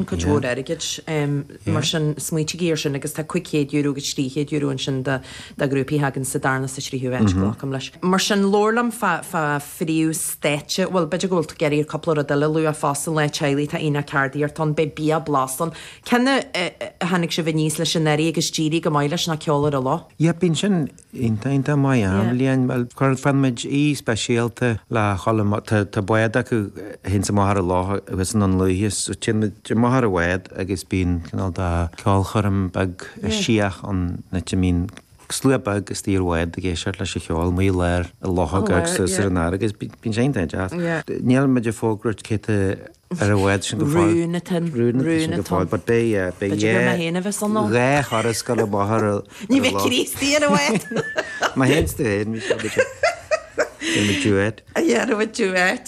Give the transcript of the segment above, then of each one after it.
cuid mhór airgid. Mar sin, smaoitígí ar sin agus tá €500 agus €300 ansin do ghrúpaí a thagann sa darna sa tríú háit, glacaim leis. Mar sin, labhair liom fá phríomhstáitse, bhuel, b'fhéidir go bhfuil tú ag iarraidh cúpla rud eile a lua fosta, Lá Teaghlaigh, tá Aonach Ceardaíochta ann, beidh bia blasta ann. Cén a tháinig sibh aníos leis anuraidh agus d'éirigh go maith leis ná Ceol ar an Loch? Yeah, bíonn sin iontach, iontach maith achan bhliain. Bhuel, cuireann muid aoi speisialta le dhul amach, tá, tá bád acu a théanns amach ar an loch thuas i nDún Lúiche, so téann muid amach ar an bhád agus bíonn cineál de ceolchoirm beag síoch ann, áit a mbíonn slua beag istigh ar bhád ag éisteacht leis an cheol amuigh i lár an locha agus ar an fharraige agus bíonn sé iontach deas. Níl muid ag fógairt cé tá ar an bhád sin go fóill. Rún atá ann. Rún atá sin go fóill, but beidh, yeah, beidh B'fhéidir gur mé féin a bheas ann. dhá thuras ag dul amach ar an Ní bheidh Críostaí ar an bhád. Má théann tú féin, bhí sé b'fhéidir. Déanfaidh duet. Déanfaidh duet,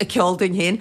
ceol dúinn féin.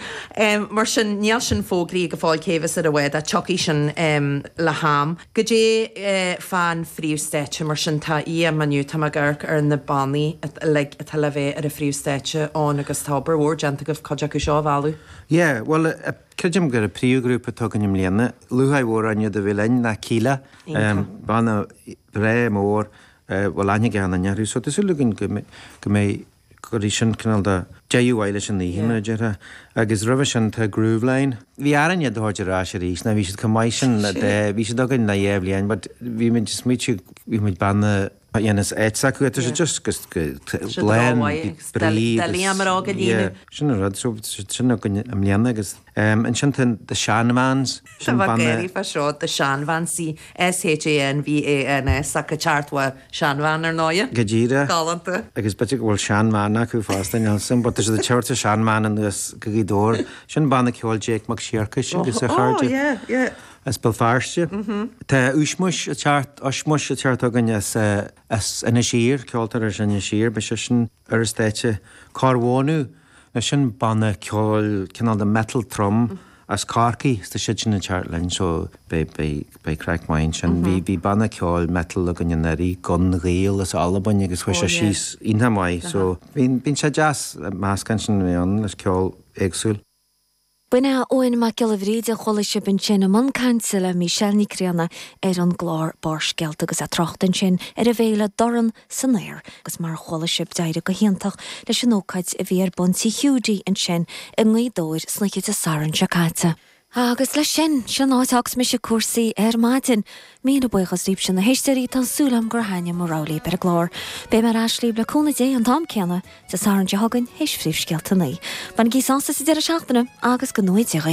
Mar sin, níl sin fógraithe go fóill cé bheas ar an bhád ach tiocfaidh sin le ham. Goidé fán phríomhstáitse, mar sin, tá oíche inniu, tá mé ag amharc ar na bannaí uilig atá le bheith ar an phríomhstáitse ann agus tá obair mhór déanta agaibh cuid acu seo a mhealladh. Yeah, bhuel, creidim gur an príomhghrúpa atá againn i mbliana, lúcháir mhór orainn iad a bheith linn, ná Kíla. Banna breá mór, bhfuil aithne ag achan duine orthu, so tá súil againn go mbeidh, Cuirfidh sin cineál de deireadh mhaith leis an oíche, mar a déarfá. Agus roimhe sin tá Grooveline. Bhí orainn iad a thabhairt ar ais arís, nó bhí siad chomh maith sin le de, bhí siad againn le dhá bhliain, but bhí muid ag smaoitiú, bhí muid banna a dhéanas áit s'acu, tá sé just go lán brí agus, yeah, sin an rud, so sin againn i mbliana agus ansin tá The Shanvans, sin banna. Tá mé ag gáirí fá seo, The Shanvans, S-H-A-N-V-A-N-S, ach ag teacht ó seanbhean, ar ndóighe. Go díreach. Galánta. Agus b'fhéidir go bhfuil seanbhean acu fosta, níl 'fhios a'm, but tá siad ag tabhairt a seanbhean anuas go Gaoth Dobhair. Sin banna ceoil Jake Mac Siorcais agus a chairde. Oh, yeah, yeah. As Béal Feirste. Tá Ushmush ag teacht, Ushmush ag teacht chugainn as, as Inis Oírr, ceoltóir as Inis Oírr, beidh seisean ar an stáitse. Cormhónú, Now sin banna ceoil, cineál de metal trom as Corcaigh, is tá siad sin ag teacht linn so beidh, beidh, beidh craic maith ansin. Bhí, bhí banna ceoil metal againn anuraidh, Gun Ghael as Albain agus chuaigh sé síos iontach maith so bíonn, bíonn sé deas meascán sin a bheith ann leis ceol éagsúil. B'in é Eoin Mac Giolla Bhríde a chuala sibh ansin i mbun cainte le Michelle Nic Grianna ar an gclár Barrscéalta agus é ag trácht ansin ar an bhféile Dorn san Aer agus mar a chuala sibh d'éirigh go hiontach leis an ócáid a bhí ar bun Tigh Hiúdaí ansin i nGaoth Dobhair san oíche Dé Sathairn seo caite. Agus leis sin, sin an áit a fhágfas mise cúrsaí ar maidin. Míle buíochas libhse na héisteoirí, tá súil agam gur thaitnigh mo rogha libh ar an gclár. Beidh mé ar ais libh le cúnamh Dé an t-am céanna Dé Sathairn seo chugainn théis phríomhscéalta a 9. Bainigí sásamh sa deireadh seachtaine agus go ngnóthaí Dia dhaoibh.